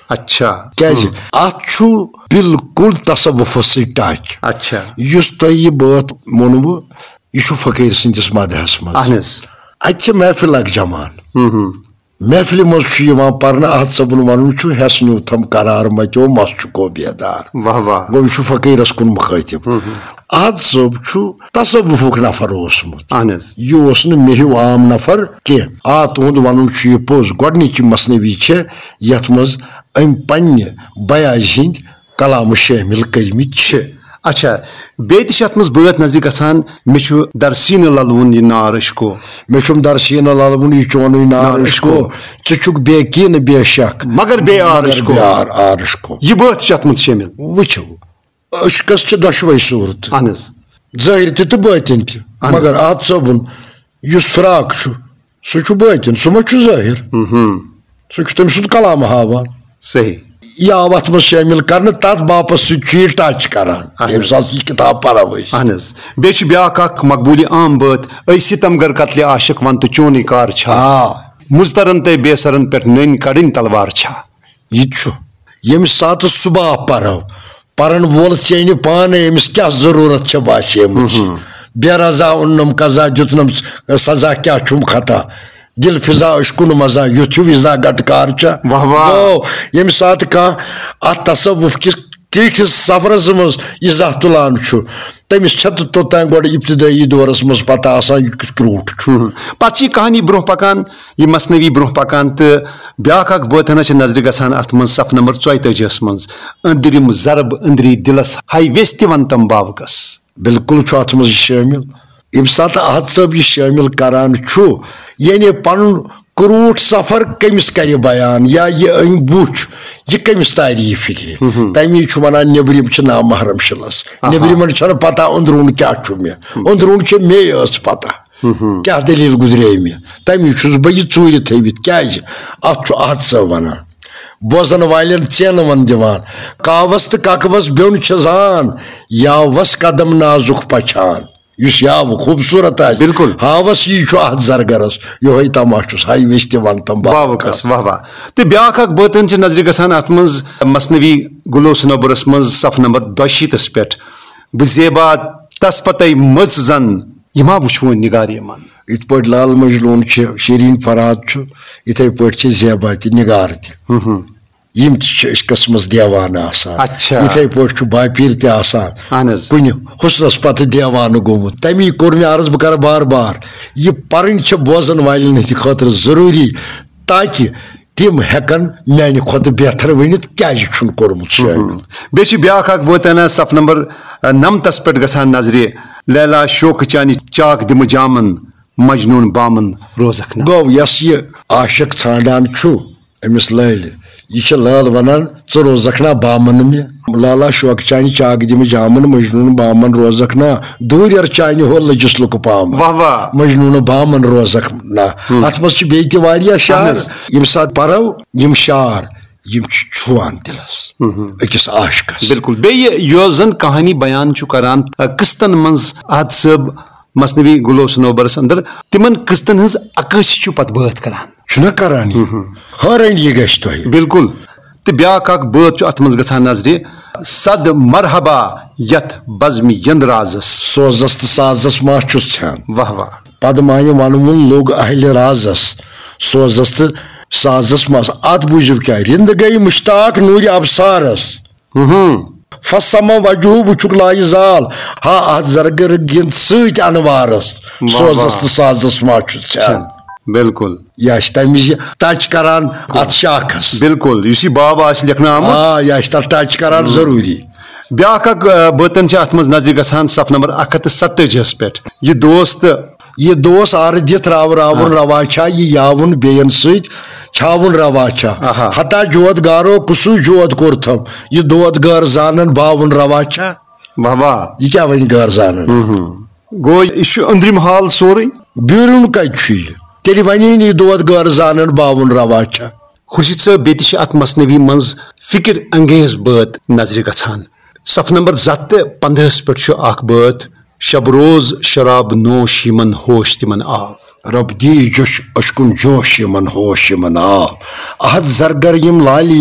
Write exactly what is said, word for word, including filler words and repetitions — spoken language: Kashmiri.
اچھا۔ کیازِ؟ اتھ چھُ بالکل تصوفس سۭتۍ ٹچ۔ اچھا۔ یُس تۄہہِ یہِ بٲتھ ووٚنوٕ، یہِ چھُ فقیٖر سٕنٛدِس مدحس منٛز۔ اہن حظ۔ اتہِ چھِ محفل اکھ جمان۔ محفلہِ منٛز چھُ یِوان پرنہٕ، احد صٲبُن ونُن چھُ، ہٮ۪س نیوٗتھم قرار متیو، مس چھُ کو بیدار۔ واہ واہ۔ گوٚو، یہِ چھُ فقیٖرس کُن مُخٲطب۔ احد صٲب چھُ تصوفُک نفر اوسمُت۔ اہن حظ۔ یہِ اوس نہٕ مےٚ ہیوٗ عام نفر کینٛہہ۔ آ، تُہُنٛد ونُن چھُ یہِ پوٚز، گۄڈنِچی مثنوی چھےٚ یتھ منٛز أمۍ پننہِ بیاض ہٕنٛدۍ کلامہٕ شٲمِل کٔرمٕتۍ چھِ۔ اچھا، بیٚیہِ تہِ چھِ اتھ منٛز بٲتھ نظرِ گژھان، مےٚ چھُ درسیٖنہٕ للوُن یہِ نار عشقو۔ مےٚ چھُم درسیٖنہٕ للوُن یہِ چونُے نار نار عشقو۔ عشقو۔ ژٕ چھُکھ بے کینہٕ بے شک۔ مگر بے آر مگر عشقو۔ بے آر، آر عشقو۔ یہِ بٲتھ تہِ چھِ اتھ منٛز شٲمِل۔ وٕچھِو، عشقس چھِ دۄشوے صوٗرتہٕ۔ اہن حظ۔ ظٲہِر تہِ تہٕ بٲطِن تہِ۔ اہن حظ۔ مگر احد صٲبُن یُس فراق چھُ، سُہ چھُ بٲطِن، سُہ ما چھُ ظٲہِر؟ سُہ چھُ تٔمۍ سُنٛد کلام ہاوان۔ صحیح۔ یہِ آو اتھ منٛز شٲمِل کرنہٕ، تتھ باپس سۭتۍ چھُ یہِ ٹچ کران، اہن حظ۔ ییٚمہِ ساتہٕ یہِ کِتاب پرو أسۍ۔ اہن حظ۔ بیٚیہِ چھُ بیٛاکھ اکھ مقبوٗلہِ عام بٲتھ، أے ستم گر قتلِ عاشق ون تہٕ چونُے کار چھا؟ آ۔ مُضطرن تہٕ بے سرن پٮ۪ٹھ نٔنۍ کڑٕنۍ تلوار چھا؟ یہِ تہِ چھُ۔ ییٚمہِ ساتہٕ صبح پرو، پرن وول ژینہِ پانے، أمِس کیٛاہ ضروٗرت چھےٚ باسیمٕژ؟ بے رضا اُنم قضا، دیُتنم سزا، کیٛاہ چھُم خطا؟ دل فضا عشقُن مزہ، یُتھ ہیوٗ وِزا گٹکار چھا؟ واہ واہ۔ گوٚو، ییٚمہِ ساتہٕ کانٛہہ اتھ تصوف کِس کریٖٹھِس سفرس منٛز ایٖزاہ تُلان چھُ، تٔمِس چھےٚ تہٕ توٚتام گۄڈٕ ابتدٲیی دورس منٛز پتہ آسان، یہِ کیُتھ کرٛوٗٹھ چھُ۔ پتہٕ چھِ یہِ کہانی برٛونٛہہ پکان، یہِ مثنوی برٛونٛہہ پکان، تہٕ بیٛاکھ اکھ بٲتھنا چھِ نظرِ گژھان اتھ منٛز، صف نمبر ژۄیہِ تٲجی ہس منٛز، أنٛدرِم ضرب أنٛدری دِلس، ہاے ویژھِ تہِ ونتم باوکس۔ بالکل چھُ اتھ منٛز یہِ شٲمِل۔ ییٚمہِ ساتہٕ احد صٲب یہِ شٲمِل کران چھُ، یعنی پنُن کرٛوٗٹھ سفر کٔمِس کرِ بیان یا یہِ أمۍ بُچھ، یہِ کٔمِس تارِ یہِ فِکرِ؟ تَمی چھُ وَنان، نیٚبرِم چھِ نامحرم شِلَس۔ آہا۔ نیٚبرِمَن چھَنہٕ پَتہ أنٛدروٗن کیٛاہ چھُ مےٚ۔ أنٛدروٗن چھِ مے یٲژ پَتہ۔ کیٛاہ دٔلیٖل گُزرے مےٚ؟ تَمی چھُس بہٕ یہِ ژوٗرِ تھٲوِتھ۔ کیٛازِ؟ اَتھ چھُ احد صٲب وَنان۔ بوزن والٮ۪ن ژینہٕ وَن دِوان۔ کاوَس تہٕ کَکوَس بیوٚن چھِ زان، یاوَس قدم نازُک پَچھان۔ یُس یاوٕ خوٗبصوٗرت آسہِ، بِلکُل۔ ہاوَس یی چھُ اَتھ زرگرَس، یِہوٚے تماشہٕ چھُس، ہاے ویژھِ تہِ وَن تم باوٕ باوٕ کَس۔ کَس، واہ واہ۔ تہٕ بیٛاکھ اَکھ بٲتن چھِ نظرِ گژھان اَتھ منٛز، مثنوی گُلو سنوبرَس منٛز، صف نمبر دۄشیٖتَس پٮ۪ٹھ، بہٕ زیبا تَس پَتَے مٔژ زَن، یہِ ما وٕچھ وۄنۍ نِگارِ یِمَن۔ یِتھ پٲٹھۍ لال مجنوٗن چھِ، شیریٖن فرہاد چھُ، یِتھَے پٲٹھۍ چھِ زیبا تہِ، نِگار تہِ۔ یِم تہِ چھِ عشقَس منٛز دیوانہٕ آسان۔ اچھا۔ یِتھَے پٲٹھۍ چھُ باپیٖر تہِ آسان۔ اہن حظ۔ کُنہِ حُسنَس پَتہٕ دیوانہٕ گوٚمُت۔ تَمی کوٚر مےٚ عرض، بہٕ کَرٕ بار بار، یہِ پَرٕنۍ چھِ بوزَن والٮ۪ن ہٕنٛدِ خٲطرٕ ضروٗری، تاکہِ تِم ہٮ۪کَن میٛانہِ کھۄتہٕ بہتر ؤنِتھ کیٛازِ چھُن کوٚرمُت شٲمِل۔ بیٚیہِ چھِ بیٛاکھ اَکھ بٲتانہ صف نمبر، ٲ، نَمتَس پٮ۪ٹھ گژھان نظرِ، لیلا شوقہٕ چانہِ چاک دِمہٕ جامَن، مجنوٗن بامَن روزَکھ نہ۔ گوٚو، یۄس یہِ عاشق ژھانٛڈان چھُ، أمِس لٲلہِ۔ یہِ چھِ لٲل وَنان، "ژٕ روزَکھ نا بامَن مےٚ؟" لالا شوقہٕ چانہِ چاک دِمہٕ جامَن، مجنوٗن بامَن روزَکھ نا۔ دوٗرٮ۪ر چانہِ ہو لٔجِس لُکہٕ پامَن۔ واہ واہ۔ مجنوٗن بامَن روزَکھ نا۔ اَتھ منٛز چھِ بیٚیہِ تہِ واریاہ شعر۔ اہن حظ۔ ییٚمہِ ساتہٕ پَرو یِم شعر، یِم چھِ چھُوان دِلَس أکِس عاشقَس۔ بِلکُل۔ بیٚیہِ یۄس زَن کہانی بیان چھُ کران، آ، قٕسطن منٛز احد صٲب مثنوی گُلو سنوبرس اندر، تِمن قٕسطن ہٕنٛز عکٲسی چھُ پتہٕ بٲتھ کران۔ چھُنہ کران یہِ؟ حٲرٲنی گژھِ تۄہہِ۔ بِلکُل۔ تہٕ بیٛاکھ اکھ بٲتھ چھُ اتھ منٛز گژھان نظرِ، صد مرحبا یتھ بزمِ یند رازس۔ سوزس تہٕ سازس ما چھُس ژھٮ۪ن۔ واہ واہ۔ پدمانہِ ونوُن لوٚگ اہلِ رازس، سوزس تہٕ سازس ما۔ اتھ بوٗزِو کیٛاہ، رِند گٔے مشتاق نوٗرِ ابصارس۔ فسما وجہہ وُچھُکھ لایہِ زال، ہا اتھ زرگرٕ گِنٛد سۭتۍ انوارس، واہ سوزس واہ۔ تہٕ سازس ما چھُس ژھٮ۪ن۔ بِلکُل۔ یہِ آسہِ تمہِ وِزِ ٹچ کران اتھ شاخس۔ بِلکُل، یُس یہِ باب آسہِ لیکھنہٕ آمُت۔ آ، یہِ آسہِ تتھ ٹچ کران ضروٗری۔ بیٛاکھ اکھ، آ، بٲتن چھِ اتھ منٛز نظرِ گژھان صف نمبر اکھ ہتھ تہٕ ستٲجی ہس پٮ۪ٹھ۔ یہِ دوست یہِ دوس آرٕ دِتھ راو راوُن آ۔ روا چھا، یہِ یاوُن بیٚین سۭتۍ چھاوُن روا چھا؟ آہا۔ ہتا جود گارو کُسُے جود کوٚرتھم، یہِ دود غٲر زانن باوُن روا چھا؟ واہ واہ۔ یہِ کیٛاہ وَنہِ غٲر زانن؟ گوٚو یہِ چھُ أنٛدرِم حال سورُے۔ بیرون کَتہِ چھُ یہِ؟ تیٚلہِ وَنے نہٕ یہِ دود غٲر زانن باوُن روا چھا؟ خورشید صٲب، بیٚیہِ تہِ چھِ اَتھ مثنوی منٛز فِکر انگیز بٲتھ نظرِ گژھان۔ صف نمبر زٕ ہتھ تہٕ پنٛدہَس پٮ۪ٹھ چھُ اَکھ بٲتھ، شب روز شراب نوش یِمن ہوش تِمن آو۔ رب دی جوش اشکن جوش یِمن ہوش یِمن آو۔ احد زرگر یِم لالی